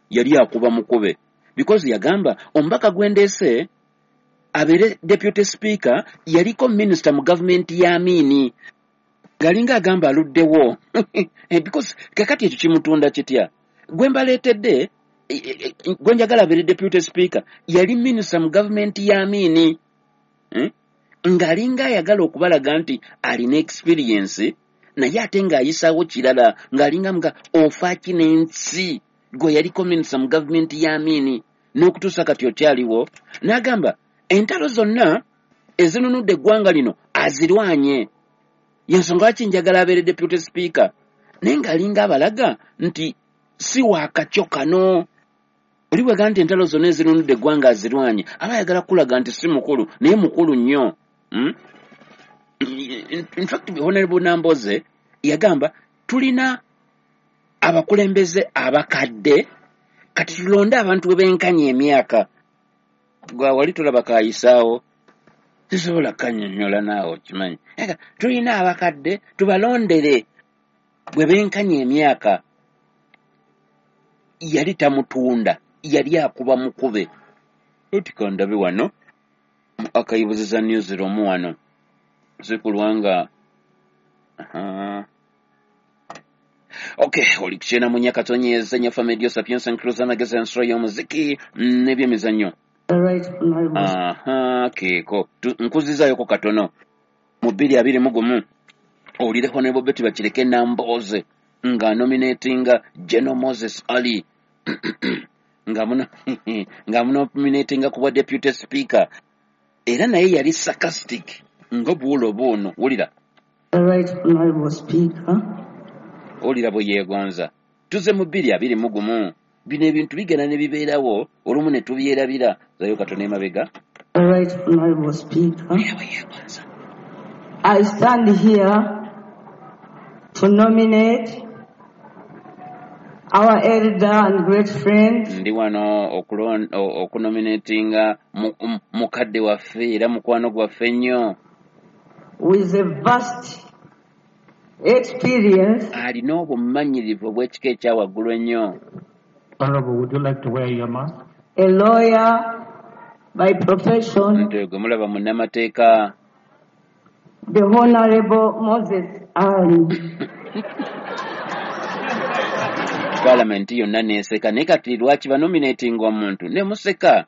Yali akuba mukube because yagamba omubaka gwendeese abeere deputy speaker yaliko minisita mu gavumenti ya Amini, ng'alinga agamba aluddewo because kakati ekyo kimutunda kitya? Gwe mbaleetedde, gwe njagala abeere deputy speaker yali minisita mu gavumenti ya Amini, Ng'alinga ayagala okubalaga nti alina experience, naye ate ng'ayisaawo kirala, ng'alinga nga ofa ki n'ensi gwe yaliko minisita mu gavumenti ya Amini n'okutuusa kati okyaliwo. N'agamba entalo zonna ezinunudde eggwanga lino azirwanye, yensonga lwaki njagala abeere deputy speaker, naye ng'alinga abalaga nti si waakakyo kano. Oli bwega nti entalo zonna ezinunudde eggwanga azirwanye, aba ayagala kulaga nti si mukulu, naye mukulu nnyo. In fact, Honorable Namboze yagamba tulina abakulembeze abakadde, kati tulonde abantu bwe benkanya emyaka. Gwe wali tolaba kayisaawo, sisobola kkannyonnyola naawe okimanyi. Ega, tulina abakadde tubalondere bwe benkanya emyaka. Yali tamutunda, yali akuba mukube. Otika ndabe wano archives za newsroom wano sikulwanga. Aha. Okay, oli kukyena mu Nyakatonyeza Nyafa Media Sapiens and Cruise amagezi ensolo y'omuziki n'ebyemizannyo. Right, Honorable. Aha, keeko. Nkuzizaayoko katono mu 2021 owulire Honorable Betty Bakireke Nambooze nga nominatinga General Moses Ali nga munominatinga ku bwa deputy speaker, era naye yali sarcastic nga bw'olaba ono. Wulira. Right, Honorable Speaker. Owulira bwe yeegonza. Tuze mu 2021. Bino ebintu bigenda ne bibeerawo olumu ne tubyerabira. Zayo katono emabega. Right, Honorable Speaker. Wulira bwe yeegonza. I stand here to nominate our elder and great friend. Ndi wano okunominatinga mukadde waffe era mukwano gwaffe nnyo. With a vast experience. Alina obumanyirivu obw'ekika ekya waggulu ennyo. Honorable, would you like to wear your mask? A lawyer by profession. Nti gwe mulaba munnamateeka. The Honorable Moses Ali. Parliament yonna n'eseka, naye kati lwaki banominatinga omuntu ne museka?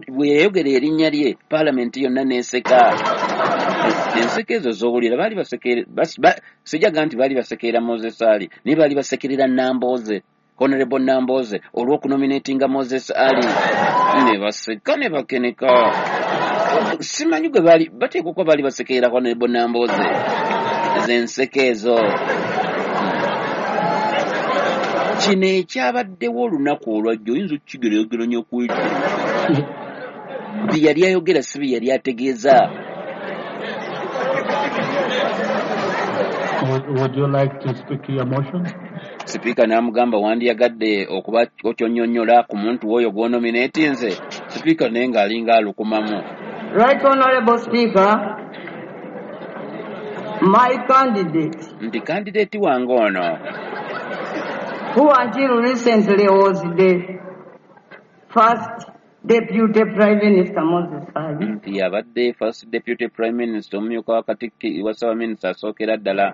Bwe yayogera erinnya lye, Parliament yonna n'eseka. Enseko ezo z'owulira baali basekerera, sijaga nti baali basekerera Moses Ali, naye baali basekerera Nambooze, Honorable Nambooze, olw'okunominatinga Moses Ali. Ne baseka ne bakeneka. Simanyi gwe baali bateekwa okuba baali basekerera Honorable Nambooze. Ezo enseko ezo. Kino ekyabaddewo olunaku olwajjo oyinza okukigeraageranya ku ekyo. Bye yali ayogera si bye yali ategeeza. Would you like to speak to your motion? Sipiika n'amugamba wandiyagadde okuba okyonnyonnyola ku muntu w'oyo gw'onominatinze. Sipiika naye ng'alinga alukumamu. Right, Honorable Speaker, my candidate. Nti candidate wange ono. Who until recently was the first Deputy Prime Minister Moses Ali. Nti yabadde first Deputy Prime Minister, omumyuka wa Katikkiro wa Ssaabaminisita asookera ddala.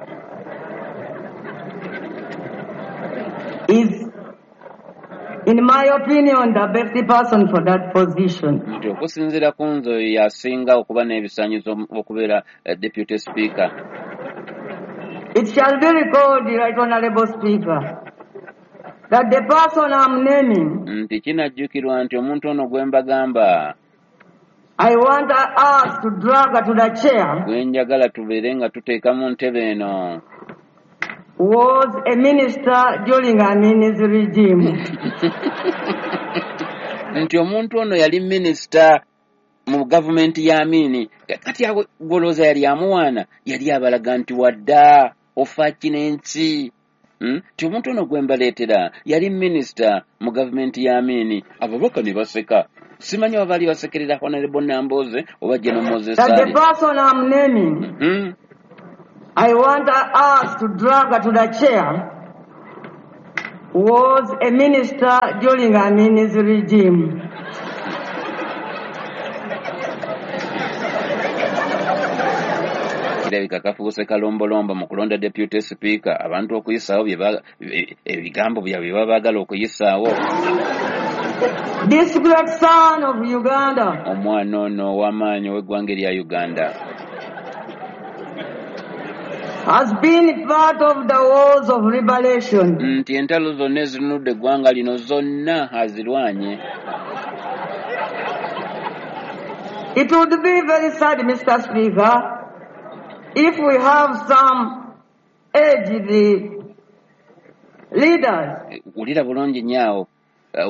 Is, in my opinion, the best person for that position. Nti okusinziira ku nze oyo yasinga okuba n'ebisaanyizo okubeera Deputy Speaker. It shall be recalled, Right Honorable Speaker, that the person I'm naming, Nti kinajjukirwa nti omuntu ono gwe mbagamba, I want us to drag to the chair, gwe njagala tubeere nga tuteeka mu ntebe eno, was a minister during Amin's regime. Nti omuntu ono yali minisita mu gavumenti ya Amini. Kati awo gw'olowooza yali amuwaana, yali abalaga nti wadda ofa ki n'ensi. Nti omuntu ono gwe mbaleetera yali minisita mu gavumenti ya Amini. Ababaka ne baseka. Simanyi oba baali basekerera Honorable Nambooze oba General Moses That the Ali. person I'm naming, I want us to drag to the chair, was a minister during Amin's regime. Kirabika kafuuse kalombolombo mu kulonda deputy speaker, abantu okuyisaawo ebigambo byabwe bye baba baagala okuyisaawo. This great son of Uganda Omwana ono ow'amaanyi ow'eggwanga erya Uganda has been part of the wars of liberation. Nti entalo zonna ezinunudde eggwanga lino zonna azirwanye. It would be very sad, Mr. Speaker, if we have some aged leaders Wulira bulungi nnyo awo,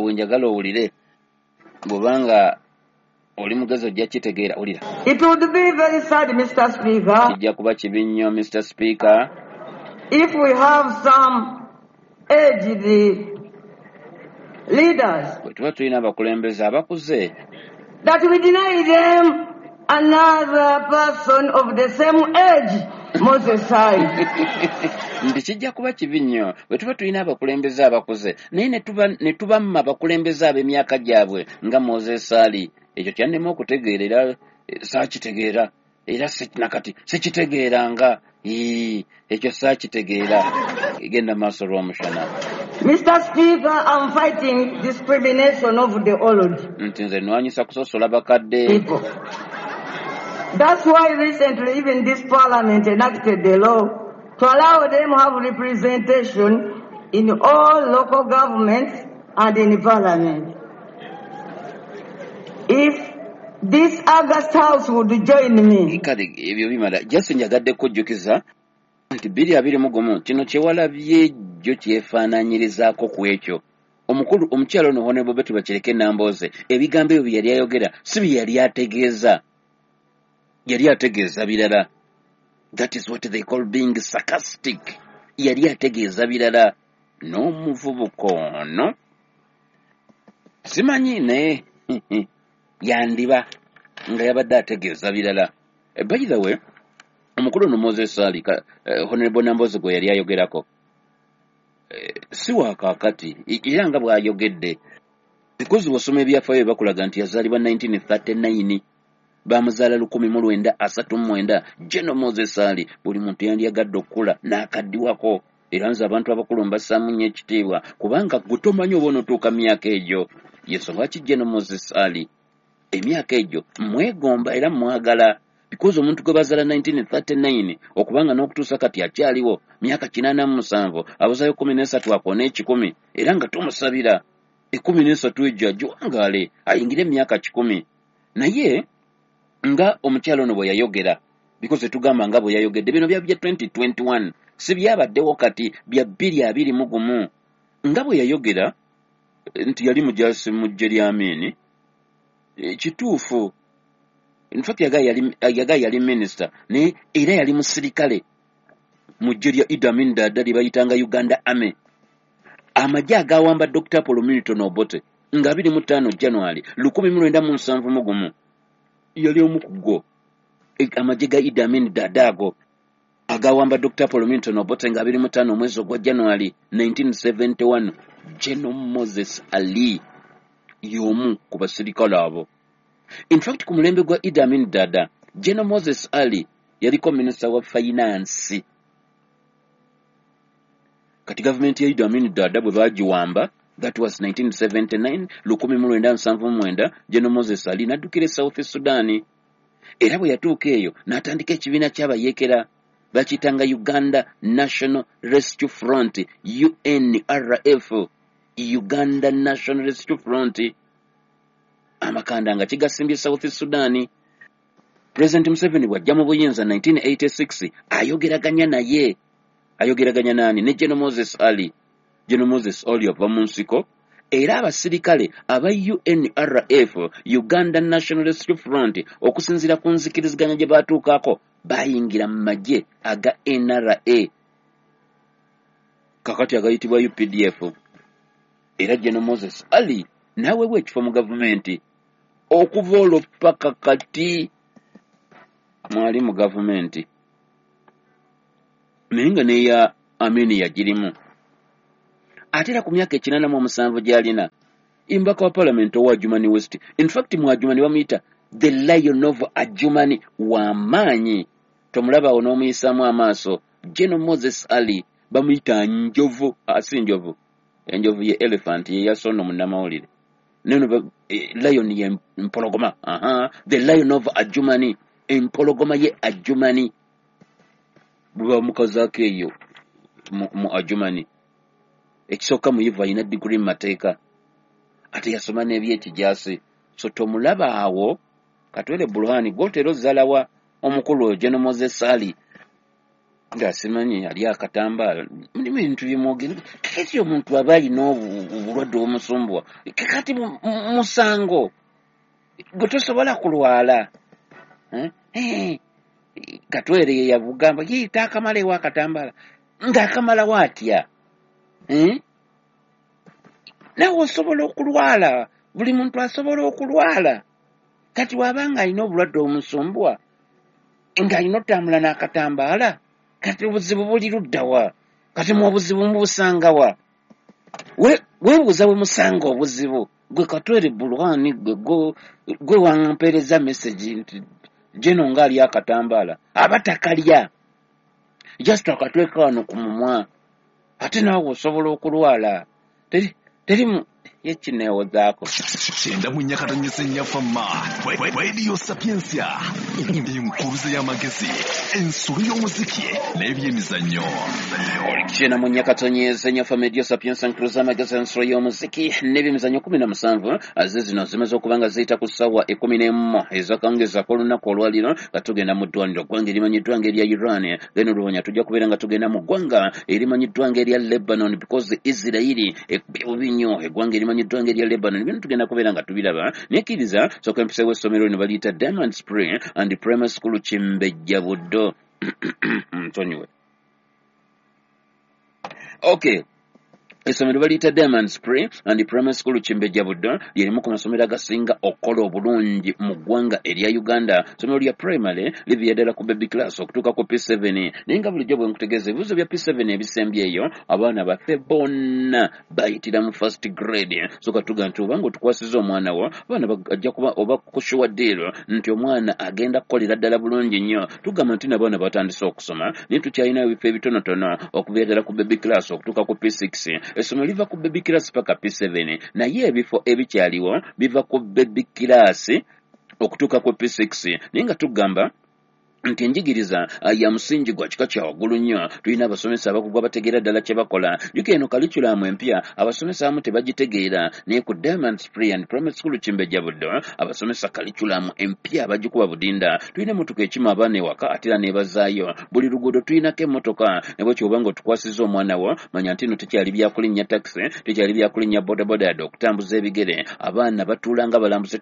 wenjagala owulire, bw'obanga oli mugezi ojja kitegeera. Wulira. It would be very sad, Mr. Speaker, Kijja kuba kibi nnyo, Mr. Speaker, if we have some aged leaders bwe tuba tulina abakulembeze abakuze that we deny them another person of the same age, Moses Ali. Nti kijja kuba kibi nnyo bwe tuba tulina abakulembeze abakuze naye ne tubamma abakulembeze ab'emyaka gyabwe nga Moses Ali. Ekyo kyannema okutegeera era saakitegeera era nakati sikitegeeranga. Ii, ekyo saakitegeera. Genda maaso, Lwomushana. Mr. Speaker, I'm fighting discrimination of the old Nti nze nwanyisa kusosola bakadde. people. That's why recently even this parliament enacted the law to allow them have representation in all local governments and in parliament. If this August House would join me, Kale ebyo bimala. Just njagadde kujjukiza nti 2021 kino kyewalabye jjo kyefaanaanyirizaako ku ekyo. Omukulu omukyalo ono Honorable Betty Bakireke Nambooze, ebigambo ebyo bye yali ayogera si bye yali ategeeza, yali ategeeza birala. That is what they call being sarcastic. Yali ategeeza birala. N'omuvubuka ono simanyi naye yandiba nga yabadde ategeeza birala. By the way, omukulu ono Moses Ali, Honorable Nambooze gwe yali ayogerako, si wa kaakati, era nga bw'ayogedde, because bw'osoma ebyafaayo bakulaga nti yazaalibwa 1939, bamuzaala 1939. General Moses Ali, buli muntu yandyagadde okukula n'akaddiwako, era nze abantu abakulu mbassaamu nnyo ekitiibwa kubanga gwe tomanyi oba onootuuka myaka egyo. Yensonga lwaki General Moses Ali emyaka egyo mwegomba era mwagala, because omuntu gwe bazaala 1939 okubanga n'okutuusa kati akyaliwo myaka 87, abuzayo 13 akoona 100, era nga tumusabira 13 egyo agiwangaale ayingire emyaka 100. Naye nga omukyalo ono bwe yayogera, because tugamba nga bwe yayogedde, bino bya 2021, si byabaddewo kati, bya 2021. Nga bwe yayogera nti yali mujaasi mu ggye lya Amini, kituufu. In fact yaga yali minisita naye era yali musirikale mu ggye lya Idi Amin Dada lye bayitanga Uganda Army, amagye agawamba Dr. Paul Milton Obote nga 25 January 1971. Yali omu ku go, amagye ga Idi Amin Dada ago agawamba Dr. Paul Milton Obote nga 25 omwezi ogwa January 1971. General Moses Ali y'omu ku basirikale abo. In fact, ku mulembe gwa Idi Amin Dada, General Moses Ali yaliko minisita wa finance. Kati gavumenti ya Idi Amin Dada bwe baagiwamba, that was 1979, 1979, General Moses Ali n'addukira e South Sudan, era bwe yatuuka eyo n'atandika ekibiina ky'abayeekera bakiyitanga Uganda National Rescue Front, UNRF, Uganda National Rescue Front. Amakanda nga kigasimbye South Sudan. President Museveni bw'ajja mu buyinza 1986, ayogeraganya naye, ayogeraganya nani? Ne General Moses Ali. General Moses Ali ava mu nsiko, era abasirikale aba UNRF, Uganda National Rescue Front, okusinziira ku nzikiriziganya gye batuukako, bayingira mu magye aga NRA kakati agayitibwa UPDF, era General Moses Ali n'aweebwa ekifo mu gavumenti. Okuva olwo paka kati mwali mu gavumenti, naye nga n'eya Amini yagirimu. Ate era ku myaka 87 gy'alina, imbaka wa palamenti owa Adjumani West, in fact mu Adjumani bamuyita the Lion of Adjumani, w'amaanyi, tomulaba awo n'omuyisaamu amaaso. General Moses Ali bamuyita njovu, si njovu, enjovu ye elephant, ye yasono munnamawulire. Neno lion ye mpologoma. The Lion of Adjumani, empologoma ye Adjumani, bwe bamukazaako eyo mu Adjumani. Ekisooka, muyivu, alina diguri mu mateeka, ate yasoma n'ebyekijaasi. So tomulaba awo Katwere Burhani gwotera ozzalawa omukulu oyo General Moses Ali nga simanyi ali akatambaala, mulimu ebintu byemwogera. Kakati omuntu aba alina obulwadde obumusumbuwa, kakati musango gwe tosobola kulwala. Katwere ye yabugamba ye taakamala ewa akatambaala ng'akamalawo atya? Naawe osobola okulwala, buli muntu asobola okulwala. Kati waba nga alina obulwadde obumusumbuwa ng'alina otambula n'akatambaala, kati obuzibu buli luddawa? Kati mu obuzibu mubusangawa? Weebuuza bwe musanga obuzibu. Gwe Katwere Bulwani, gwe wampeereza message nti General ng'ali akatambaala, aba takalya, just akatweka wano ku mumwa. Ate naawe osobola okulwala, teri ye kineewozaako. 94.4 Fama Radio Sapiensia, enkuruze y'amagezi, ensolo y'omuziki n'ebyemizannyo. 94.4 Fama Radio Sapiensia, enkuruze y'amagezi, ensolo y'omuziki n'ebyemizannyo. 17 aze zino zimaze okuba nga ziyita ku ssaawa 11 ezakawungeezi olunaku olwaliro, nga tugenda mu ddwaniro ggwanga erimanyiddwa nga erya Iran. Then oluvannyuma tujja kubeera nga tugenda mu ggwanga erimanyiddwa nga erya Lebanon, because Isirairi ekubye bubi nnyo eggwanga erimanyiddwa nga erya Lebanon. Bino tugenda kubeera nga tubiraba. Nekkiriza sooka empiseewo essomero lino, baliyita Diamond Spring and Primary School, Kimbejja, Buddo. Nsonyiwe. Okay, essomero baliyita Diamond Spring and Primary School, Kimbejja, Buddo. Lyerimu ku masomero agasinga okukola obulungi mu ggwanga erya Uganda. Essomero lya primary, liviira ddala ku baby class okutuuka ku P7. Naye nga bulijjo bwe nkutegeeza, ebibuuzo bya P7 ebisembyeyo, abaana baffe bonna bayitira mu first grade. So katuga nti obanga otukwasiza omwana wo, abaana ajja kuba oba ku sure deal nti omwana agenda kukolera ddala bulungi nnyo. Tugamba nti n'abaana batandise okusoma, naye tukyalinayo ebifo ebitonotono okuviira ddala ku baby class okutuuka ku P6. Essomero liva ku baby class paka P7, naye ebifo ebikyaliwo biva ku baby class okutuuka ku P6. Naye nga tugamba nti enjigiriza ya musingi gwa kika kya waggulu nnyo. Tulina abasomesa abakugu abategeera ddala kye bakola. Jjuka eno curriculum empya abasomesa abamu tebagitegeera, naye ku Diamond Spring and Primary School, Kimbejja, Buddo, abasomesa curriculum empya bagikuba budinda. Tulina emmotoka ekima abaana ewaka ate era n'ebazaayo. Buli luguudo tulinako emmotoka. Ne bwe kyoba nga otukwasizza omwana wo, manya nti no tekyali byakulinnya takisi, tekyali byakulinnya bodaboda, yadde okutambuza ebigere. Abaana batuula nga balambuzi,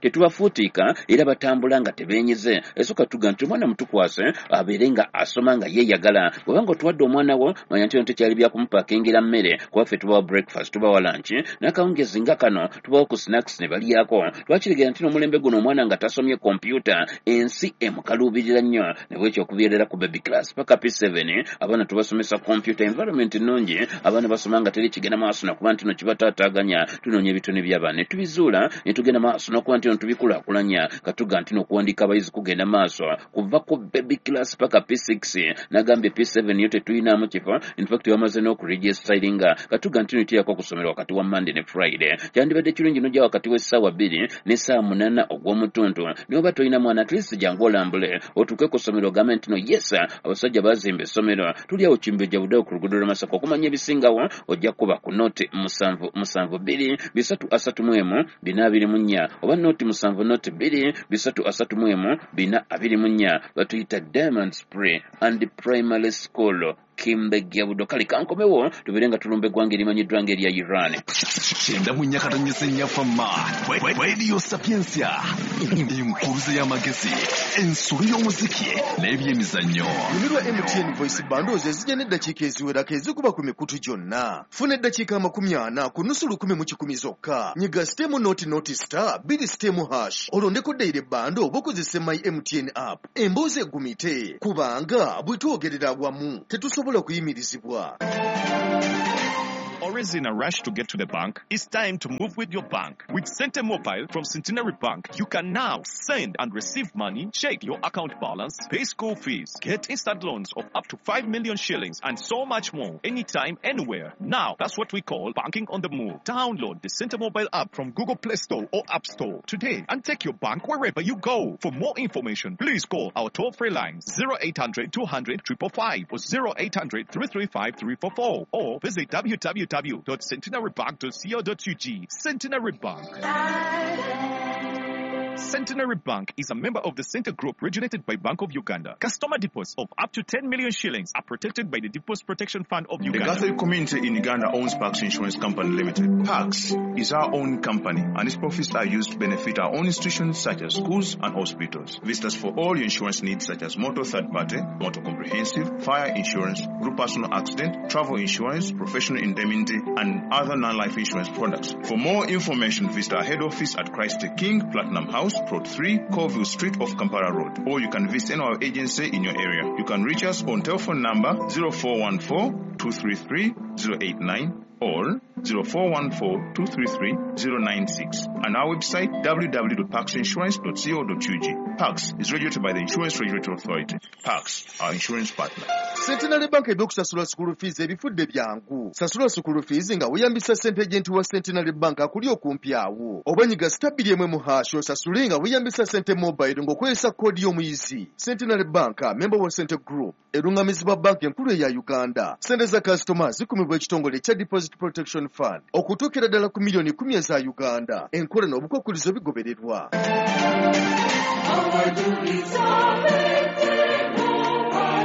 tetubafuutiika, era batambula nga tebeenyize. Esooka tuga nti omwana mutukwase abeere nga asoma nga yeeyagala. Bw'obanga otuwadde omwana wo, manya nti ono tekyali byakumupaakingira mmere, kuba ffe tubawa breakfast, tubawa lunch, n'akawungezi nga kano tubawa ku snacks ne balyako. Twakiregera nti n'omulembe guno omwana nga tasomye kompyuta, ensi emukaluubirira nnyo. Ne bwekyo okuviirera ku baby class paka P7 abaana tubasomesa kompyuta. Environment nnungi, abaana basoma nga teri kigenda maaso nakuba nti no kibataataaganya. Tunoonya ebitone by'abaana ne tubizuula, ne tugenda maaso n'okuba nti no tubikulaakulanya. Katuga nti n'okuwandiika abayizi kugenda maaso kuva ku baby class paka P6. Nagambye P7 yo tetuyinaamu kifo, in fact bamaze n'okuregistaringa. Katuga nti notiyako okusomera wakati wa Monday ne Friday. Kyandibadde kirungi nojja wakati w'essaawa 2 n'essaawa 8 ogw'omutuntu. Naye oba tolina mwana, at least jangu olambule, otuuke ku ssomero ogambe nti no yes, abasajja bazimba essomero. Tuli awo Kimbejja, Buddewo, ku luguudo lw'e Masaka. Okumanya ebisingawo ojja kuba ku 077 231 424 oba 070 231 424. Batuyita Diamond Spring and Primary School, Kimbejja, Buddo. Kale kankomewo tubeere nga tulumba eggwanga erimanyiddwa nga erya Iran. 94.4 Fama Radio Sapiensia, enkuruze y'amagezi, ensolo y'omuziki n'ebyemizannyo. Nyumirwa MTN Voice Bundles ezijja n'eddakiika eziwerako ezikuba ku mikutu gyonna. Funa eddakiika 40 ku nusu lukumi mu kikumi zokka. Nyiga sitemu noti noti star bbiri sitemu hash, olondeko daily bundle oba okozese My MTN app. Emboozi egumite, kubanga bwe twogerera awamu tetusobola kuyimirizibwa. Always in a rush to get to the bank? It's time to move with your bank. With Sente Mobile from Centenary Bank, you can now send and receive money, check your account balance, pay school fees, get instant loans of up to 5 million shillings, and so much more. Anytime, anywhere. Now, that's what we call banking on the move. Download the Sente Mobile app from Google Play Store or App Store today and take your bank wherever you go. For more information, please call our toll-free lines 0800 200 555 or 0800 335 344 or visit www.centenarybank.co.ug. Centenary Bank. Centenary Bank is a member of the Center Group regulated by Bank of Uganda. Customer deposits of up to 10 million shillings are protected by the Deposit Protection Fund of Uganda. The Catholic community in Uganda owns Pax Insurance Company Limited. Pax is our own company and its profits are used to benefit our own institutions such as schools and hospitals. Visit us for all your insurance needs such as motor third party, motor comprehensive, fire insurance, group personal accident, travel insurance, professional indemnity and other non-life insurance products. For more information, visit our head office at Christ the King, Platinum House, Plot 3, Colville Street off Kampala Road, or you can visit any of our agency in your area. You can reach us on telephone number 0414 233 089 or 0414 233 096 and our website www.paxinsurance.co.ug. Pax is regulated by the Insurance Regulatory Authority. Pax, our insurance partner. Centenary Bank ebyokusasula school fees ebifudde byangu. Sasula school fees nga weeyambisa ssente agent wa Centenary Bank akuli okumpi awo. Oba nyiga star 2 mu hash osasule nga weeyambisa Sente Mobile ng'okozesa koodi y'omuyizi. Centenary Bank, member wa Sente Group, erungamizibwa banki enkulu eya Uganda. Ssente za customer zikumibwa ekitongole ekya Deposit Protection Fund okutuukira ddala ku miliyoni 10 eza Uganda. Enkola n'obukwakkulizo bigobererwa.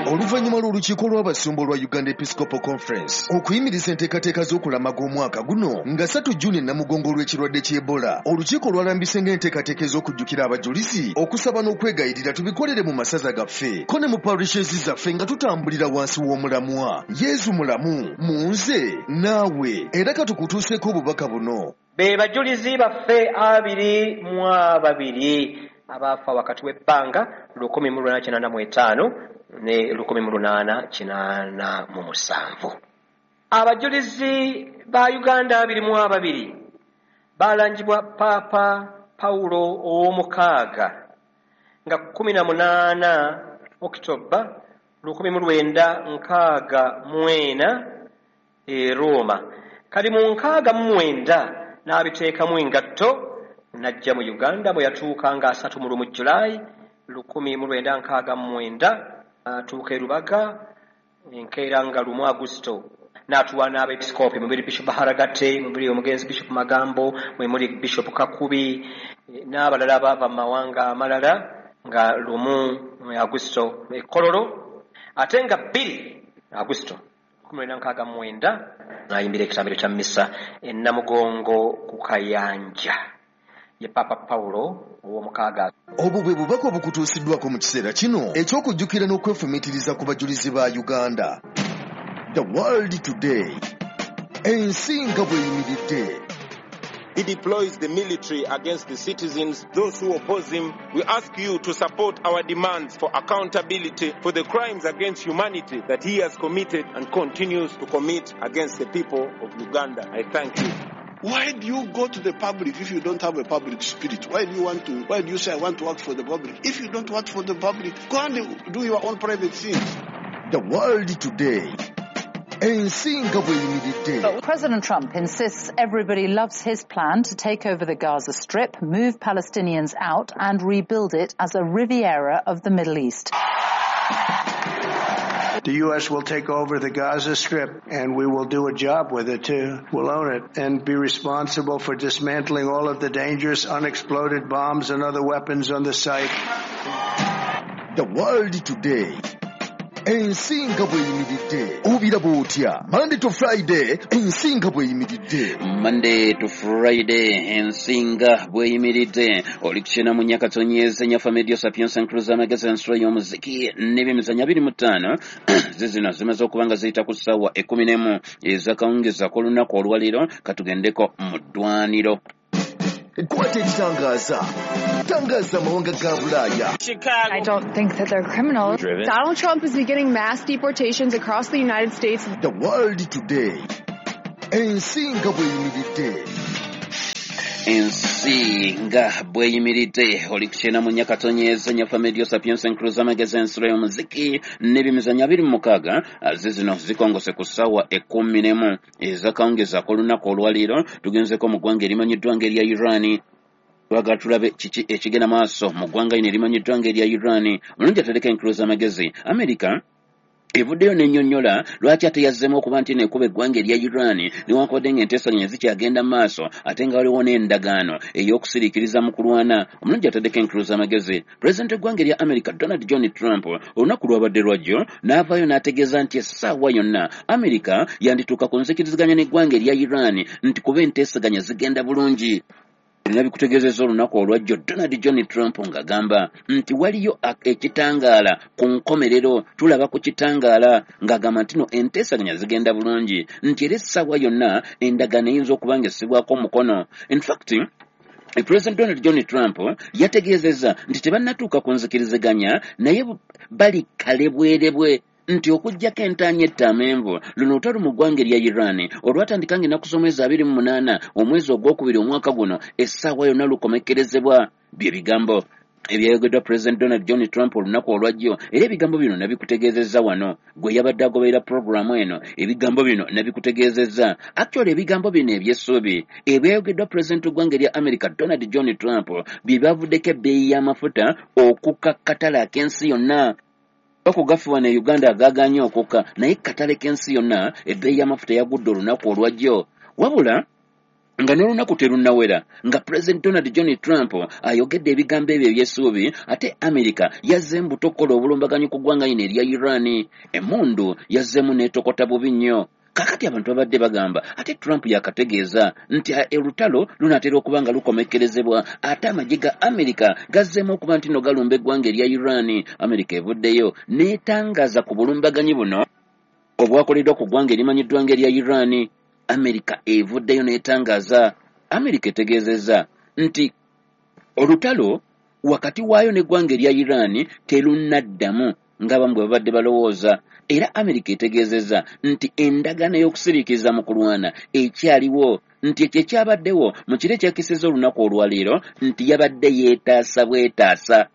Oluvannyuma lw'olukiiko lw'abasumba olwa Uganda Episcopal Conference okuyimiriza enteekateeka z'okulamaga omwaka guno nga 3 Juni Namugongo olw'ekirwadde ky'Ebola, olukiiko lwalambise ng'enteekateeka ez'okujjukira abajulizi, okusaba n'okwegayirira tubikolere mu masaza gaffe ko ne mu parishes zaffe nga tutambulira wansi w'omulamwa Yezu mulamu mu nze naawe. Era katukutuuseeko obubaka buno. Be bajulizi baffe 22 abaafa wakati w'ebbanga 1885 ne 1887. Abajulizi ba Uganda 22 balangibwa Papa Paulo ow'omukaaga nga 18 Oktoba 1964 e Roma. Kali mu 69 n'abiteekamu engatto n'ajja mu Uganda bwe yatuuka nga 31 Julaayi 1969 atuuka e Rubaga enkeera nga 1 Agusto n'atuwa n'abepiskopi mubiri Bishop Haragate, mubiri omugenzi Bishop Magambo, mwe muli Bishop Kakubi n'abalala bava mu mawanga amalala nga 1 Agusto e Kololo, ate nga 2 Agusto 1969 n'ayimbira ekitambiro kya missa e Namugongo ku Kayanja ye Papa Paulo ow'omukaaga. Obwo bwe bubaka obukutuusiddwako mu kiseera kino eky'okujjukira n'okwefumiitiriza ku bajulizi ba Uganda. The World Today, ensi nga bw'eyimiridde. He deploys the military against the citizens, those who oppose him. We ask you to support our demands for accountability for the crimes against humanity that he has committed and continues to commit against the people of Uganda. I thank you. Why do you go to the public if you don't have a public spirit? Why do you want to? Why do you say I want to work for the public? If you don't work for the public, go and do your own private things. The World Today. President Trump insists everybody loves his plan to take over the Gaza Strip, move Palestinians out and rebuild it as a Riviera of the Middle East. The U.S. will take over the Gaza Strip, and we will do a job with it, too. We'll own it and be responsible for dismantling all of the dangerous unexploded bombs and other weapons on the site. The World Today. Ensinga bweyimiridde. Obiraba otya? Monday to Friday, ensinga bweyimiridde. Monday to Friday, ensinga bweyimiridde. Oli kukyena mu Nyakatonyeze, Nyafa Media Sapienza Nkruza Magazine Nsula y'omuziki n'ebyemizannyo 25 zizino zimaze okuba nga ziyita ku ssaawa 11 ez'akawungeezi ak'olunaku olwaleero. Katugendeko mu ddwaniro. Kwata ekitangaza. Tangaza amawanga ga Bulaaya. Chicago. I don't think that they're criminals. Driven. Donald Trump is beginning mass deportations across the United States. The World Today. Ensi nga bw'eyimiridde. Ensi nga bweyimiridde, oli ku 94.4 Medio Sapiens Encruise, amagezi, ensulo y'omuziki n'ebimizanyo 26. Zizino zikongose ku ssaawa 11 ezakawungezi ak'olunaku olwaleero. Tugenzeko mu ggwanga erimanyiddwa ng'erya Iran. Twagala tulabe kiki ekigenda maaso mu ggwanga lino erimanyiddwa ng'erya Iran. Mulungi atereka Encruise amagezi. America evuddeyo n'ennyonnyola lwaki ate yazzeemu okuba nti neekuba eggwanga erya Iran, newankubadde ng'enteesaganya zikyagenda mu maaso, ate nga waliwo n'endagaano ey'okusiriikiriza mu kulwana. Omulungi ataddeko Encruise amagezi. Pulezidenti w'eggwanga erya America Donald John Trump olunaku lwabadde lwajjo n'avaayo n'ategeeza nti essaawa yonna America yandituuka ku nzikiriziganya n'eggwanga erya Iran, nti kuba enteesaganya zigenda bulungi. Bino bikutegeezezza olunaku olwajjo Donald John Trump ng'agamba nti waliyo ekitangaala ku nkomerero, tulaba ku kitangaala, ng'agamba nti no enteesaganya zigenda bulungi, nti era essaawa yonna endagaano eyinza okuba ng'essibwako omukono. In fact, President Donald John Trump yategeezezza nti tebannatuuka ku nzikiriziganya, naye bali kalebwerebwe, nti okuggyako entaanya etta amenvu, luno olutalo mu ggwanga erya Iran olwatandika ng'ennaku z'omwezi 28 omwezi ogwokubiri omwaka guno, essaawa yonna lukomekkerezebwa. Bye bigambo ebyayogeddwa President Donald John Trump olunaku olwajjo, era ebigambo bino nabikutegeezezza wano gwe yabadde agoberera puroguramu eno. Ebigambo bino nabikutegeezezza. Actually, ebigambo bino ebyessuubi ebyayogeddwa President w'eggwanga erya America Donald John Trump bye byavuddeko ebbeeyi y'amafuta okukka katale ak'ensi yonna. Okugafi wano e Uganda agaaganye okukka, naye katale k'ensi yonna ebbeeyi y'amafuta yagudde olunaku olwajjo. Wabula nga n'olunaku terunnawera nga President Donald John Trump ayogedde ebigambo ebyo ebyessuubi, ate America yazzeemu buto okukola obulumbaganyi ku ggwanga lino erya Iran. Emmundu yazzeemu n'etokota bubi nnyo. Kaakati abantu babadde bagamba ate Trump yakategeeza nti olutalo lunaatera okuba nga lukomekkerezebwa, ate amagye ga America gazzeemu okuba nti no galumba eggwanga erya Iran. America evuddeyo n'etangaaza ku bulumbaganyi buno obwakoleddwa ku ggwanga erimanyiddwa ng'erya Iran. America evuddeyo n'etangaaza. America etegeezezza nti olutalo wakati waayo n'eggwanga erya Iran terunnaddamu ng'abamu bwe babadde balowooza. Era America etegeezezza nti endagaano ey'okusiriikiriza mu kulwana ekyaliwo, nti ekyo ekyabaddewo mu kiro ekyakisizza olunaku olwaleero nti yabadde yeetaasa bwetaasa.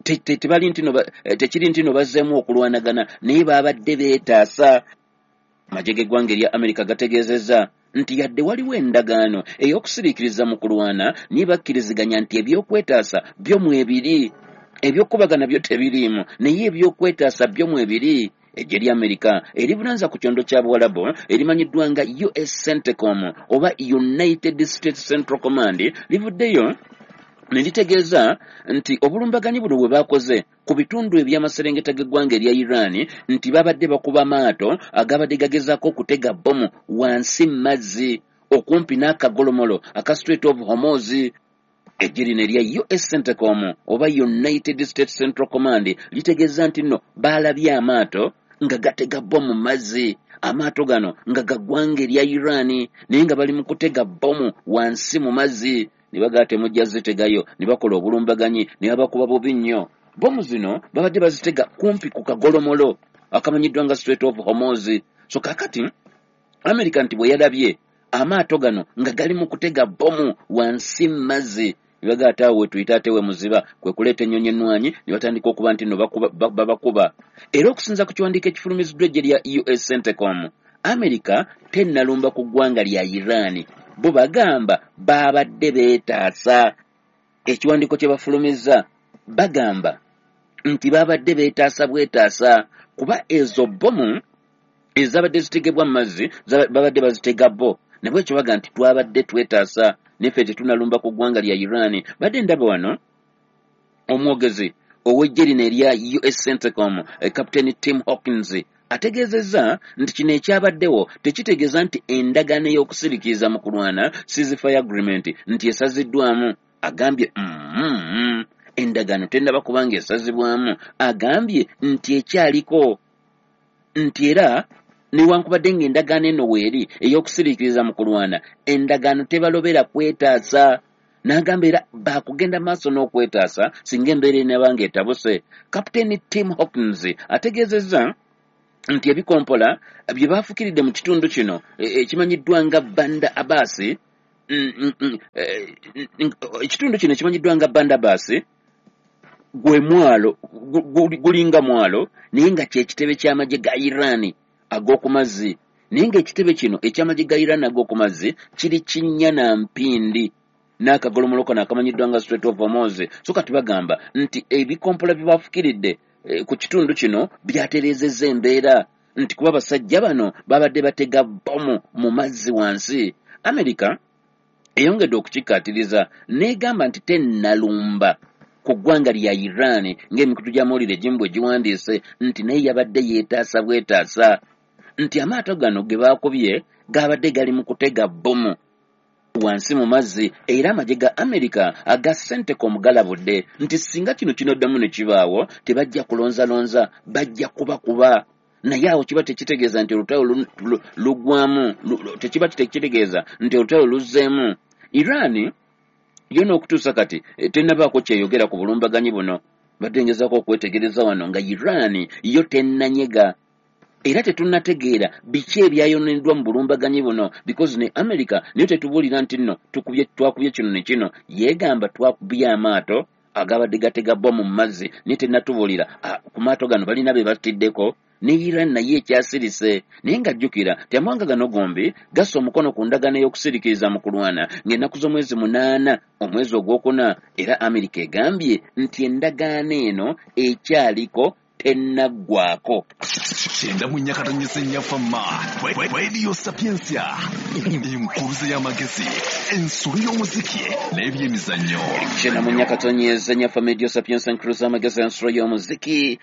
Tebali nti no tekiri nti no bazzeemu okulwanagana, naye babadde beetaasa. Amagye g'eggwanga erya America gategeezezza nti yadde waliwo endagaano ey'okusiriikiriza mu kulwana, naye bakkiriziganya nti ebyokwetaasa byo mwebiri, ebyokubagana byo tebiriimu, naye ebyokwetaasa byo mwebiri. Eggye lya Amerika erivunaanyizibwa ku kyondo kya Buwalabu erimanyiddwa nga US CENTCOM oba United States Central Command livuddeyo ne litegeeza nti obulumbaganyi buno bwe baakoze ku bitundu eby'amaserengeta g'eggwanga erya Iran, nti babadde bakuba maato agabadde gagezaako okutega bbomu wansi mu mazzi okumpi n'akagolomolo aka Strait of Hormuz. Eggye lino erya US CENTCOM oba United States Central Command litegeeza nti nno baalabye amaato nga gatega bbomu mu mazzi, amaato gano nga ga ggwanga erya Iran, naye nga bali mu kutega bbomu wansi mu mazzi. Ne bagala temujja zitegayo, ne bakola obulumbaganyi ne babakuba bubi nnyo. Bbomu zino babadde bazitega kumpi ku kagolomolo akamanyiddwa nga Strait of Hormuz. So kaakati America nti bwe yalabye amaato gano nga gali mu kutega bbomu wansi mu mazzi, ne bagala ate awo we tuyita ate we muziba, kwe kuleeta ennyonyi ennwanyi ne batandika okuba nti nno babakuba. Era okusinza ku kiwandiiko ekifulumiziddwa eggye lya US CENTCOM, America tennalumba ku ggwanga lya Iran. Bo bagamba babadde beetaasa. Ekiwandiiko kye bafulumizza bagamba nti babadde beetaasa bwetaasa, kuba ezo bbomu ezabadde zitegebwa mu mazzi babadde bazitega bo, nabwekyo baga nti twabadde twetaasa, neffe tetunalumba ku ggwanga lya Iran. Badde ndaba wano omwogezi ow'eggye lino erya US CENTCOM, Captain Tim Hawkins, ategeezezza nti kino ekyabaddewo tekitegeeza nti endagaano ey'okusiriikiriza mu kulwana, ceasefire agreement, nti esaziddwamu. Agambye endagaano tennaba kubanga esazibwamu. Agambye nti ekyaliko, nti era newankubadde ng'endagaano eno weeri ey'okusiriikiriza mu kulwana, endagaano tebalobera kwetaasa. N'agamba era baakugenda maaso n'okwetaasa singa embeera enaaba ng'etabuse. Captain Tim Hawkins ategeezezza Nti ebikompola bye baafukiridde mu kitundu kino ekimanyiddwa nga Banda Abbas, ekitundu kino ekimanyiddwa nga Banda Abbas gwe mwalo, gulinga mwalo, naye nga kyekitebe ky'amagye ga Iran ag'oku mazzi. Naye ng'ekitebe kino eky'amagye ga Iran ag'oku mazzi kiri kinnya na mpindi n'akagolomolo kano akamanyiddwa nga Strait of Hormuz. So kati bagamba nti ebikompola bye baafukiridde ku kitundu kino byatereezezza embeera, nti kuba abasajja bano babadde batega bbomu mu mazzi wansi. Amerika eyongedde okukikkaatiriza n'egamba nti tennalumba ku ggwanga lya Iran, ng'emikutu gy'amawulire egimu bwe giwandiise nti naye yabadde yeetaasa bwetaasa, nti amaato gano ge baakubye gaabadde gali mu kutega bbomu wansi mu mazzi. Era amagye ga Amerika aga CENTCOM galabudde nti singa kino kinoddamu ne kibaawo tebajja kulonzalonza, bajja kubakuba. Naye awo kiba tekitegeeza nti olutalo lugwamu, tekiba tekitegeeza nti olutalo luzzeemu. Iran yo n'okutuusa kati tennabaako kyeyogera ku bulumbaganyi buno. Badde ngezaako okwetegereza wano nga Iran yo tennanyega, era tetunnategeera biki ebyayononeddwa mu bulumbaganyi buno, because ne America nayo tetubuulira nti nno twakubye kino ne kino. Yeegamba twakubye amaato agabadde gatega bbomu mu mazzi, naye tennatubuulira ku maato gano balina be batiddeko. Ne Iran naye ekyasirise, naye ng'ajjukira nti amawanga gano gombi gassa omukono ku ndagaano ey'okusiriikiriza mu kulwana ng'ennaku z'omwezi 8 omwezi ogwokuna. Era Amerika egambye nti endagaano eno ekyaliko, tennaggwako. 94.4 Fama Radio Sapientia, enkuruze y'amagezi, ensulu y'omuziki n'ebyemizannyo. 94.4 Fama Radio Sapientia, enkuruze y'amagezi, ensulu y'omuziki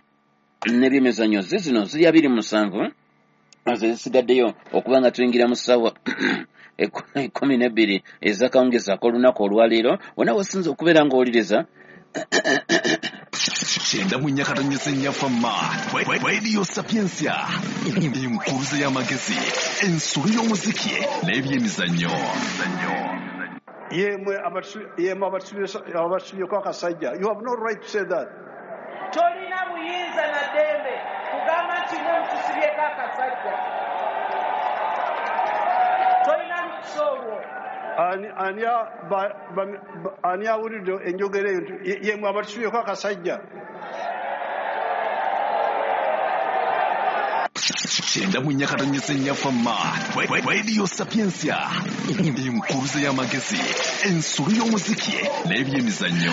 n'ebyemizannyo. Zizino ziri 27 zisigaddeyo okuba nga tuyingira mu ssaawa 12 ez'akawungeezi ak'olunaku olwaleero. Wonna wasinze okubeera ng'owuliriza 94.4 Fama Radio Sapientia, enkuruze y'amagezi, ensulu y'omuziki n'ebyemizannyo. Yemwe abatusubyeko akasajja, you have no right to say that. Tolina buyinza na ddembe kugamba nti mwe mutusibyeko akasajja. Tolina lukusa olwo. Ani awulidde enjogera eyo nti yemwe abatusubyeko akasajja? 94.4 Fama Radio Sapientia, enkuruze y'amagezi, ensulu y'omuziki n'ebyemizannyo.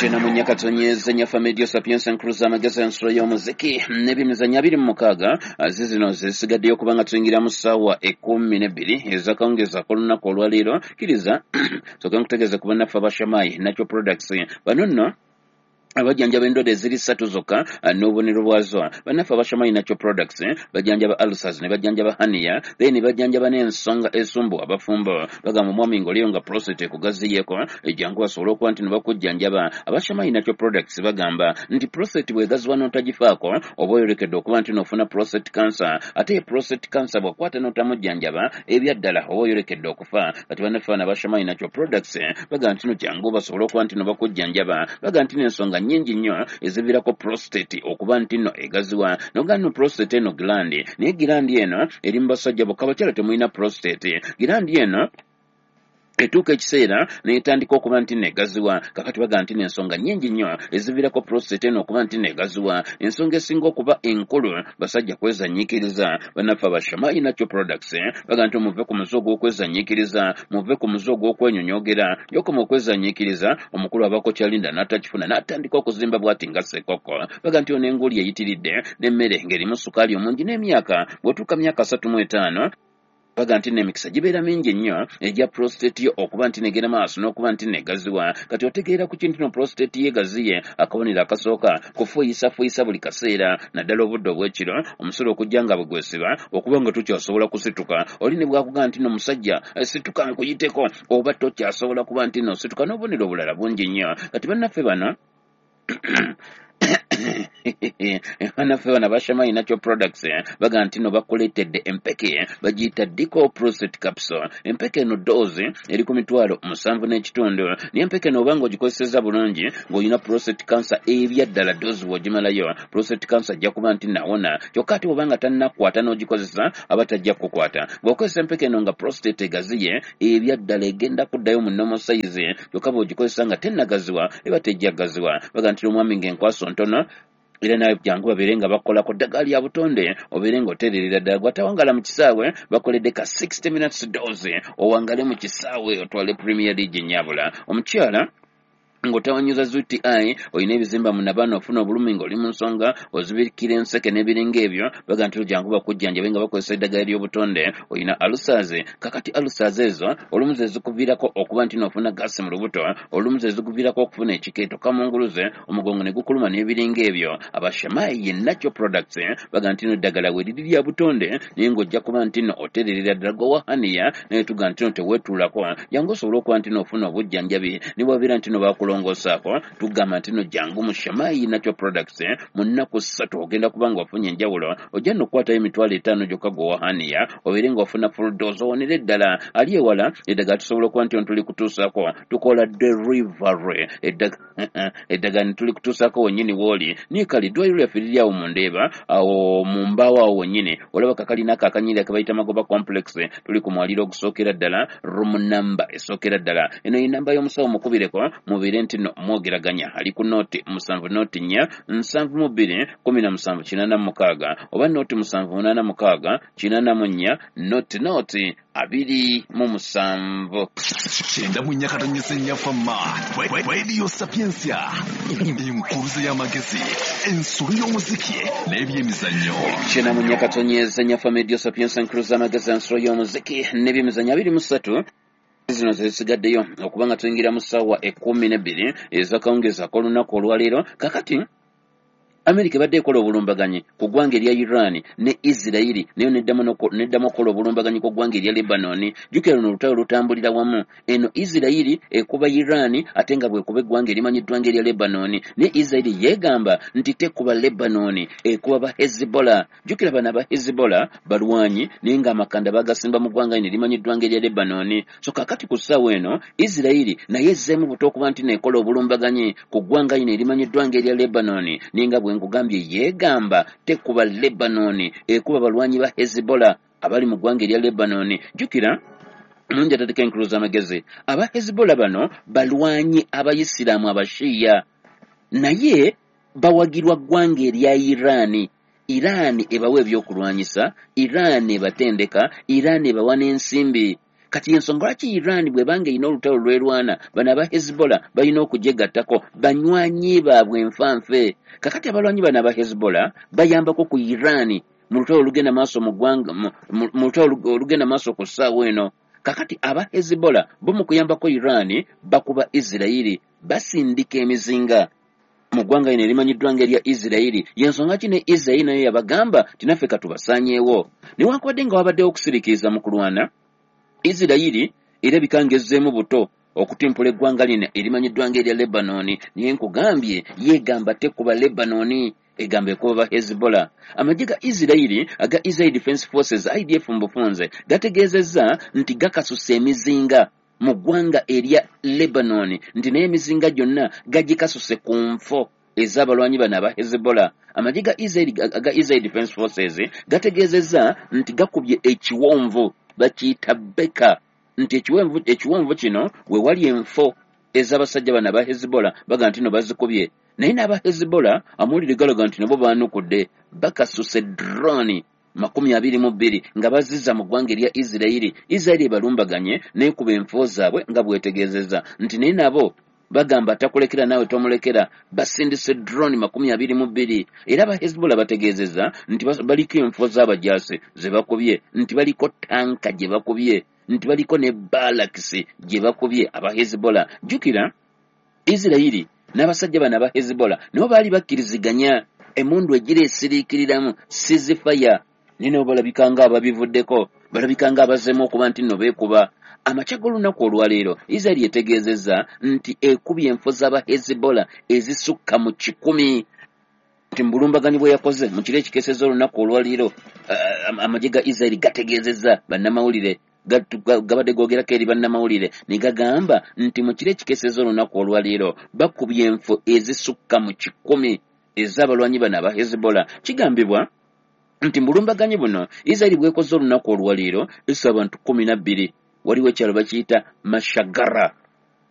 94.4 Fama Radio Sapientia, enkuruze y'amagezi, ensulu y'omuziki n'ebyemizannyo. 26 zizino zisigaddeyo okuba nga tuyingira mu ssaawa 12 ez'akawungeezi ak'olunaku olwaleero. Kkiriza sooka nkutegeeze ku bannaffe abashamayi Natural Products. Bano nno abajjanjaba endwadde eziri 3 zokka n'obubonero bwazo. Bannaffe abashamayi Natural Products bajjanjaba ulcers, ne bajjanjaba hernia, then ne bajjanjaba n'ensonga esumbu abafumbo. Bagamba omwami ng'oliyo nga prostate ekugaziyeeko, ejjangu basobole okuba nti ne bakujjanjaba. Abashamayi Natural Products bagamba nti prostate bw'egaziwa n'otagifaako oba oyolekedde okuba nti n'ofuna prostate cancer, ate prostate cancer bw'akwata n'otamujjanjaba ebyaddala oba oyolekedde okufa. Kati bannaffe bano abashamayi Natural Products bagamba nti no jangu basobole okuba nti no bakujjanjaba. Bagamba nti n'ensonga nnyingi nnyo eziviirako prostate okuba nti nno egaziwa. Nogamba nno prostate eno gland, naye gland eno eri mu basajja bokka, abakyala temulina prostate. Gland eno etuuka ekiseera n'etandika okuba nti negaziwa. Kakati bagamba nti n'ensonga nnyingi nnyo eziviirako prostate eno okuba nti negaziwa. Ensonga esinga okuba enkulu basajja kwezanyiikiriza. Bannaffe abashamayi Natural Products bagamba nti muve ku muze ogw'okwezanyiikiriza, muve ku muze ogw'okwenyonyoogera. Yokoma okwezanyiikiriza, omukulu abaako kyalinda n'atakifuna n'atandika okuzimba bw'ati nga ssekokko. Bagamba nti ono enguuli eyitiridde n'emmere ng'erimu sukaali omungi n'emyaka, bw'otuuka myaka 35 baga nti n'emikisa gibeera mingi nnyo egya prostate yo okuba nti negenda maaso n'okuba nti negaziwa. Kati otegeera ku kintu no prostate ye gaziye, akabonero akasooka kufuuyisafuuyisa buli kaseera, naddala obudde obw'ekiro, omusolo okujja nga bwe gwesiba okuba nga tokyasobola kusituka. Oli ne bwakugamba nti no musajja situka nkuyiteko, oba tokyasobola kuba nti no situka, n'obubonero obulala bungi nnyo. Kati bannaffe bano Bannaffe bano aba Shamai Natural Products baga nti no bakuleetedde empeke bagiyita Dico Prostate Capsule. Empeke eno dose eri ku 75,000, naye empeke eno obanga ogikozesezza bulungi ng'olina prostate cancer ebyaddala, dose bw'ogimalayo prostate cancer ajja kuba nti nawona. Kyokka ate bw'obanga tannakwata n'ogikozesa, aba tajja kukukwata. Bw'okozesa empeke eno nga prostate egaziye, ebyaddala egenda kuddayo mu normal size. Kyokka bw'ogikozesa nga tennagaziwa, eba tejja gaziwa. Baga nti omwami ng'enkwaso ntono, era nawe jangu babeere nga bakolako ddagala lya butonde, obeere ng'otererera ddala. Gwatawangala mu kisaawe, bakoledde ka 60 minutes dose, owangale mu kisaawe otwale Premier League nyabula. Omukyala ng'otawanyuza UTI, olina ebizimba mu nabaana, ofuna obulumi ng'oli mu nsonga, ozibikira enseke n'ebiringa ebyo, baga nti jangu bakujjanjabe nga bakozesa eddagala ly'obutonde. Olina ulcers, kakati ulcers ezo olumu ze zikuviirako okuba nti n'ofuna gaasi mu lubuto, olumu ze zikuviirako okufuna ekikeeto, kamunguluze, omugongo ne gukuluma n'ebiringa ebyo. Aba Shamai ye Natural Products baga nti no eddagala we liri lya butonde, naye ng'ojja kuba nti no otererera ddala. Gwe hernia naye tuga nti no teweetuulako, jangu osobole okuba nti no ofuna obujjanjabi. Ne bwabeera nti no bakulongoosaako, tugamba nti no jangu mu Shamai Natural Products, mu nnaku 3 ogenda kuba nga ofunye enjawulo. Ojja nno okukwatayo 50,000 gyokka gwe hernia, obeere ng'ofuna full dose, owonere ddala. Ali ewala, eddagala tusobola okuba nti tuli kutuusaako, tukola delivery, eddagala ne tuli kutuusaako wennyini w'oli. Naye kale eddwaliro lyaffe liri awo mu Ndeeba, awo mu mbaawo awo wennyini olaba kakalina ako akanyirira ke bayita Magoba Complex. Tuli ku mwaliro ogusookera ddala, room number esookera ddala. Eno ye namba y'omusawo, mukubireko mubeere nti no mwogeraganya. Ali ku 070 04 72 17 86 oba 078 684 00 27. 94.4 Fama Radio Sapientia, enkuruze y'amagezi, ensulu y'omuziki n'ebyemizannyo. 94.4 Fama Radio Sapientia, enkuruze y'amagezi, ensulu y'omuziki n'ebyemizannyo. 23 zino zezisigaddeyo okuba nga tuyingira mu ssaawa 12 ez'akawungeezi ak'olunaku olwaleero. Kakati Amerika ebadde ekola obulumbaganyi ku ggwanga erya Iran ne Isirayiri, nayo neddamu okukola obulumbaganyi ku ggwanga erya Lebanon. Jjukira luno olutalo lutambulira wamu. Eno Isirayiri ekuba Iran, ate nga bwekuba eggwanga erimanyiddwa ng'erya Lebanon. Naye Isirayiri yeegamba nti tekuba Lebanon, ekuba ba Hezbollah. Jjukira bano aba Hezbollah balwanyi, naye ng'amakanda bagasimba mu ggwanga lino erimanyiddwa ng'erya Lebanon. So kakati ku ssaawa eno Isirayiri naye ezzeemu buto okuba nti neekola obulumbaganyi ku ggwanga lino erimanyiddwa ng'erya Lebanon, naye nga bwe nkugambye yeegamba tekuba Lebanon, ekuba balwanyi ba Hezbollah abali mu ggwanga erya Lebanon. Jjukira mulungi atateka enkulu z'amagezi, aba Hezbollah bano balwanyi abayisiraamu abashiya, naye bawagirwa ggwanga erya Iran. Iran ebawa ebyokulwanyisa, Iran ebatendeka, Iran ebawa n'ensimbi. Kati ensonga lwaki Iran bw'ebanga erina olutalo lwerwana, bano aba Hezbollah balina okugyegattako, banywanyi baabwe enfanfe. Kakati abalwanyi bano aba Hezbollah bayambako ku Iran mu lutalo olugenda maaso mu ggwanga, mu lutalo olugenda maaso ku ssaawa eno. Kakati aba Hezbollah bo mu kuyambako Iran bakuba Isirayiri, basindika emizinga mu ggwanga lino erimanyiddwa ng'erya Isirayiri. Y'ensonga ki ne Isirayiri nayo yabagamba nti naffe katubasaanyeewo. Newankubadde nga wabaddewo okusiriikiriza mu kulwana, Isirayiri erabika ng'ezzeemu buto okutimpula eggwanga lino erimanyiddwa ng'erya Lebanon. Naye nkugambye yeegamba tekuba Lebanon, egamba ekuba ba Hezbollah. Amagye ga Isirayiri aga Israel Defense Forces, IDF mu bufunze, gategeezezza nti gakasusa emizinga mu ggwanga erya Lebanon, nti naye emizinga gyonna gagikasuse ku nfo ez'abalwanyi bano aba Hezbollah. Amagye ga Israel aga Israel Defense Forces gategeezezza nti gakubye ekiwonvu bakiyita Beka, nti ekiwonvu kino we wali enfo ez'abasajja bano aba Hezbollah, baga nti no bazikubye. Naye n'aba Hezbollah amawulire galaga nti nabo baanukudde, bakasuse drone 22 nga bazizza mu ggwanga erya Isirayiri. Isirayiri ebalumbaganye n'ekuba enfo zaabwe nga bwetegeezezza nti naye nabo bagamba atakulekera naawe tomulekera, basindise drone 22. Era aba Hezbollah bategeezezza nti baliko enfo z'abajaasi ze bakubye, nti baliko tanka gye bakubye, nti baliko ne balakisi gye bakubye aba Hezbollah. Jjukira Isirayiri n'abasajja bano aba Hezbollah nabo baali bakkiriziganya emmundu egira esiriikiriramu ceasefire, naye nabo balabika nga ababivuddeko, balabika nga abazzeemu okuba nti nno beekuba. Amakya g'olunaku olwaleero Isirayiri etegeezezza nti ekubye enfo z'aba Hezbollah ezisukka mu 100. Nti mu bulumbaganyi bwe yakoze mu kiro ekikeesezza olunaku olwaleero, amagye ga Israeli gategeezezza bannamawulire, gabadde googerako eri bannamawulire ne gagamba nti mu kiro ekikeesezza olunaku olwaleero bakubye enfo ezisukka mu 100 ez'abalwanyi bano aba Hezbollah. Kigambibwa nti mu bulumbaganyi buno Israeli bwekoze olunaku olwaleero essa abantu 12. Waliwo ekyalo bakiyita Mashagara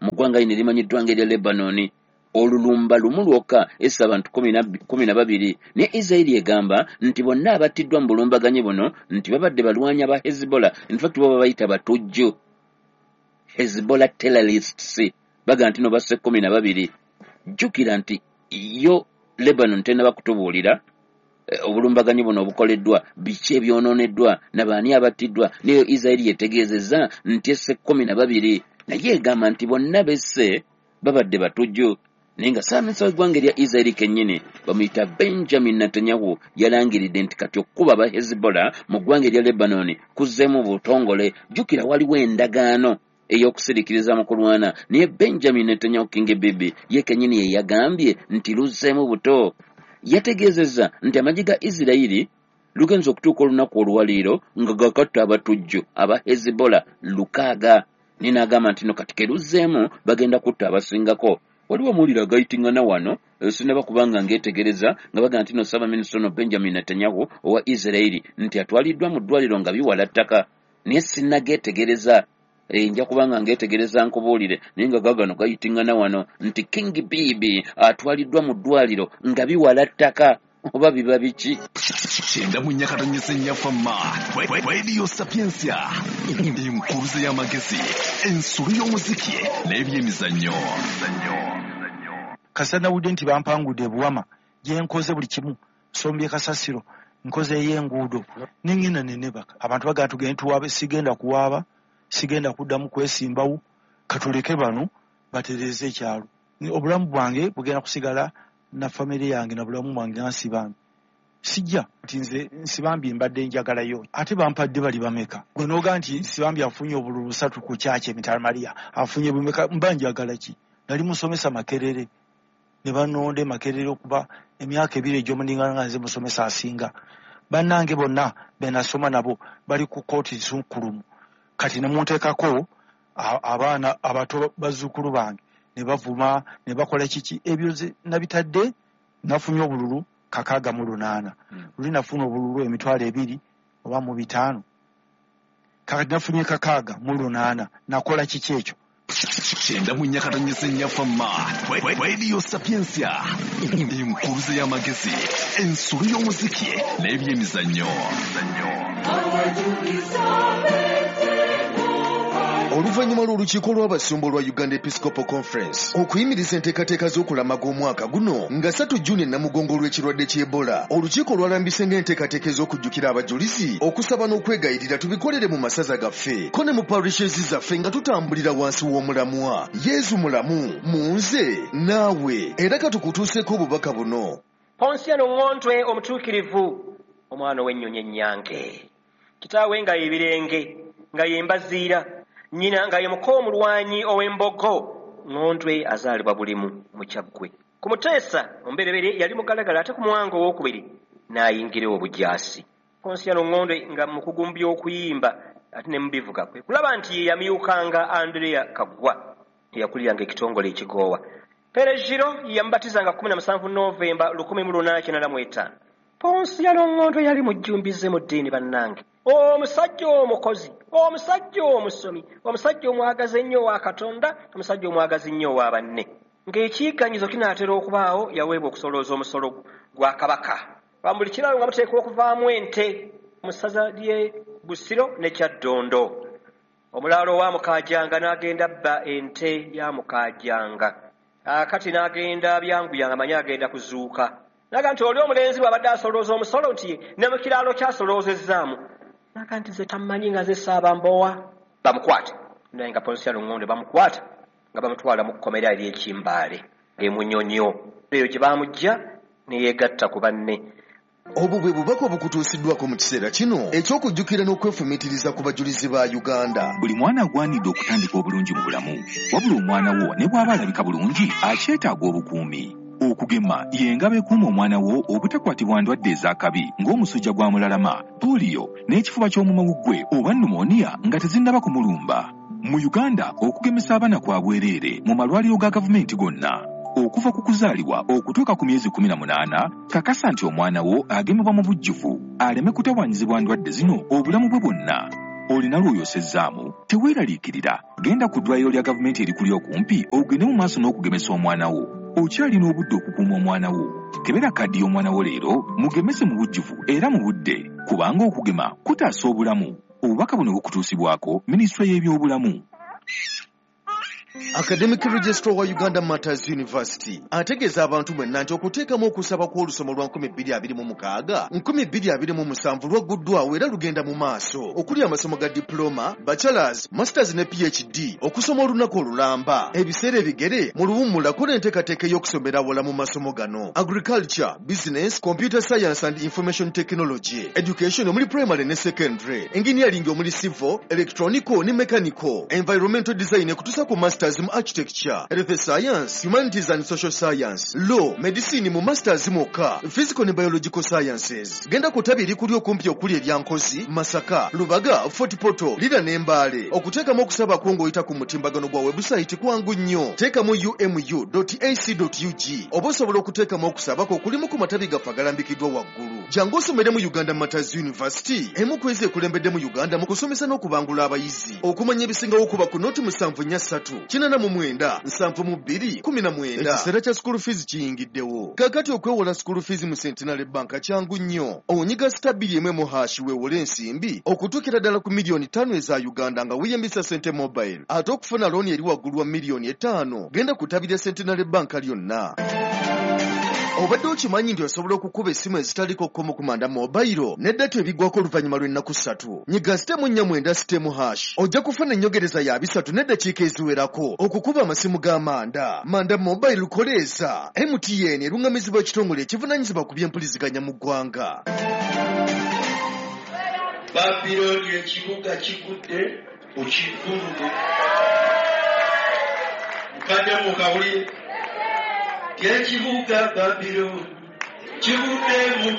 mu ggwanga lino erimanyiddwa ng'erya Lebanon. Olulumba lumu lwokka essa abantu 12. Naye Israeli egamba nti bonna abattiddwa mu bulumbaganyi buno nti babadde balwanyi aba Hezbollah. In fact bo babayita batujju, Hezbollah terrorists, baga nti no basse 12. Jjukira nti yo Lebanon tennaba kutubuulira obulumbaganyi buno obukoleddwa, biki ebyonooneddwa, nabaani abattiddwa. Naye Israeli yetegeezezza nti esse 12, naye egamba nti bonna besse babadde batujju. Naye nga ssaabaminisita w'eggwanga erya Israeli kennyini bamuyita Benjamin Netanyahu yalangiridde nti kati okukuba aba Hezbollah mu ggwanga erya Lebanon kuzzeemu butongole. Jjukira waliwo endagaano ey'okusiriikiriza mu kulwana, naye Benjamin Netanyahu King Bibi ye kennyini ye yagambye nti luzzeemu buto. Yategeezezza nti amagye ga Israeli lugenza okutuuka olunaku olwaleero nga gakatta abatujju aba Hezbollah 600. Naye n'agamba nti no kati ke luzzeemu bagenda kutta abasingako. Waliwo amawulire agayitingana wano sinnaba kubanga ngeetegereza nga bagamba nti no ssaabaminisita ono Benjamin Netanyahu owa Israeli nti atwaliddwa mu ddwaliro nga biwala ttaka, naye sinnageetegereza. Nja kubanga ngeetegereza nkubuulire, naye nga gagano gayitingana wano nti King Bibi atwaliddwa mu ddwaliro nga biwala ttaka, oba biba biki? 94.4 Fama Radio Sapientia, enkuruze y'amagezi, ensulu y'omuziki n'ebyemizannyo. Kasita nawulidde nti bampangudde ebuwama gye nkoze buli kimu, nsombye kasasiro, nkoze ey'enguudo, ne ŋŋenda ne neebaka. Abantu bagamba tugende tuwaabe, sigenda kuwaaba, sigenda kuddamu kwesimbawo, katuleke bano batereeze ekyalo. Obulamu bwange bugenda kusigala na famire yange na bulamu bwange nga Nsibambi. Sijja nti nze Nsibambi mbadde njagalayo, ate bampadde bali bameka. Gwe n'ogaa nti Nsibambi afunye obululu 3 ku kyaki emitala Maria, afunye bumeka, mba njagala ki? Nali musomesa Makerere, ne bannonda e Makerere okuba emyaka 2 egy'omuningana nga nze musomesa asinga. Bannange bonna be nasoma nabo bali ku kkooti nsukkulumu. Kati ne munteekako abaana abato bazzukulu bange ne bavuma ne bakola kiki, ebyo nabitadde. Nafunye obululu 68, luli nafuna obululu 20,000 oba 5,000, kakati nafunye 68. Nakola kiki ekyo? 94.4 Fama Radio Sapientia, enkuruze y'amagezi, ensulu y'omuziki n'ebyemizannyo. Oluvannyuma lw'olukiiko lw'abasumba olwa Uganda Episcopal Conference okuyimiriza enteekateeka z'okulamaga omwaka guno nga 3 Juni Namugongo olw'ekirwadde ky'Ebola, olukiiko lwalambise ng'enteekateeka ez'okujjukira abajulizi, okusaba n'okwegayirira tubikolere mu masaza gaffe ko ne mu parishes zaffe nga tutambulira wansi w'omulamwa Yezu mulamu mu nze naawe. Era katukutuuseeko obubaka buno. Ponsiano Ŋŋontwe omutuukirivu, omwana ow'ennyonyi ennyange, kitaawe nga ye Birenge nga ye Mbaziira, nnyina nga ye muko omulwanyi ow'embogo. Ŋŋontwe azaalibwa Bulimu mu Kyaggwe. Ku Muteesa omubereberye yali mugalagala, ate ku Muwanga owookubiri n'ayingira obujaasi. Ponsiano Ŋŋontwe nga mukugu mu by'okuyimba ate ne mu bivuga, kwe kulaba nti ye yamyukanga Andrea Kaggwa eyakuliranga ekitongole ekigoowa. Perejiro yamubatizanga 17 Novemba 1895. Ponsiano Ŋŋontwe yali mujjumbize mu ddiini bannange, omusajja omukozi, omusajja omusomi, omusajja omwagazi ennyo owa Katonda, omusajja omwagazi ennyo owa banne. Ng'ekiyiganyizo kinaatera okubaawo, yaweebwa okusolooza omusolo gwa Kabaka. Buli kiralo nga muteekwa okuvaamu ente mu ssaza ly'e Busiro ne Kyaddondo. Omulaalo owa Mukaajanga n'agenda abba ente ya Mukaajanga. Akati n'agenda byanguyanga manyi agenda kuzuuka. Naga nti oli omulenzi bw'abadde asolooza omusolo nti ne mu kiraalo kyasoloozezaamu. Naga nti nze tammanyi nga nze Ssaabambowa. Bamukwate. Naye nga Ponsiano Ŋŋontwe bamukwata nga bamutwala mu kkomera ery'Ekimbaale e Munyonyo. Eyo gye bamuggya ne yeegatta ku banne. Obwo bwe bubaka obukutuusiddwako mu kiseera kino eky'okujjukira n'okwefumiitiriza ku bajulizi ba Uganda. Buli mwana agwanidde okutandika obulungi mu bulamu, wabula omwana wo ne bw'aba alabika bulungi akyetaaga obukuumi. Okugema y'engabo ekuuma omwana wo obutakwatibwa ndwadde ez'akabi ng'omusujja gwa mulalama, pooliyo n'ekifuba ky'omumawuggwe oba pneumonia nga tezinnaba kumulumba. Mu Uganda okugemesa abaana kwa bwereere mu malwaliro ga gavumenti gonna. Okuva ku kuzaalibwa okutuuka ku myezi 18, kakasa nti omwana wo agemebwa mu bujjuvu aleme kutawaanyizibwa ndwadde zino obulamu bwe bwonna. Olina lw'oyosezzaamu, teweeraliikirira, genda ku ddwaliro lya gavumenti erikuli okumpi ogende mu maaso n'okugemesa omwana wo. Okyalina obudde okukuuma omwana wo. Kebera kaddi y'omwana wo leero, mugemese mu bujjuvu era mu budde, kubanga okugema kutaasa obulamu. Obubaka buno bukutuusibwako Minisitule y'Ebyobulamu. Academic Registrar wa Uganda Martyrs University ategeeza abantu mwenna nti okuteekamu okusaba kw'olusoma lwa 2026 2027 lwagguddwawo era lugenda mu maaso okuli amasomo ga diploma, bachelors, masters ne PhD okusoma olunaku olulamba ebiseera ebigere mu luwummula kola enteekateeka ey'okusomera awala mu masomo gano: agriculture, business, computer science and information technology, education omuli primary ne secondary, engineering omuli civil, electronical ne mechanical, environmental design ekutuusa ku masters mu architecture, health science, humanities and social science, law, medicine mu masters mwokka, physical ne biological sciences. Genda ku ttabi erikuli okumpi okuli erya Nkozi, Masaka, Lubaga, Fort Portal, Lira ne Mbale. Okuteekamu okusaba kwo ng'oyita ku mutimbagano gwa website kwangu nnyo. Teekamu umu.ac.ug oba osobola okuteekamu okusaba kwo kulimu ku matabi gaffe agalambikiddwa waggulu. Jangu osomere mu Uganda Martyrs University, emu ku ezo ekulembedde mu Uganda mu kusomesa n'okubangula abayizi. Okumanya ebisingawo kuba ku 073 89 72 19. Ekiseera kya school fees kiyingiddewo. Kaakati okwewola school fees mu Centenary Bank kyangu nnyo. Onyiga *211# weewole ensimbi okutuukira ddala ku miliyoni 5 eza Uganda nga weeyambisa Sente Mobile. Ate okufuna looni eri waggulu wa miliyoni 5, genda ku ttabi lya Centenary Bank lyonna. Obadde okimanyi nti osobola okukuba essimu ezitaliko kkomo ku Manda Mobile ne data ebiggwako oluvannyuma lw'ennaku 3? Nyiga *49*# ojja kufuna ennyogereza ya 30 n'eddakiika eziwerako okukuba amasimu ga Manda. Manda Mobile koleeza. MTN eruŋŋamizibwa ekitongole ekivunaanyizibwa ku by'empuliziganya mu ggwanga. Babiloni ekibuga kigudde okivvulume. Mukadde mukawulire ekibuga Babiloni kigudde mu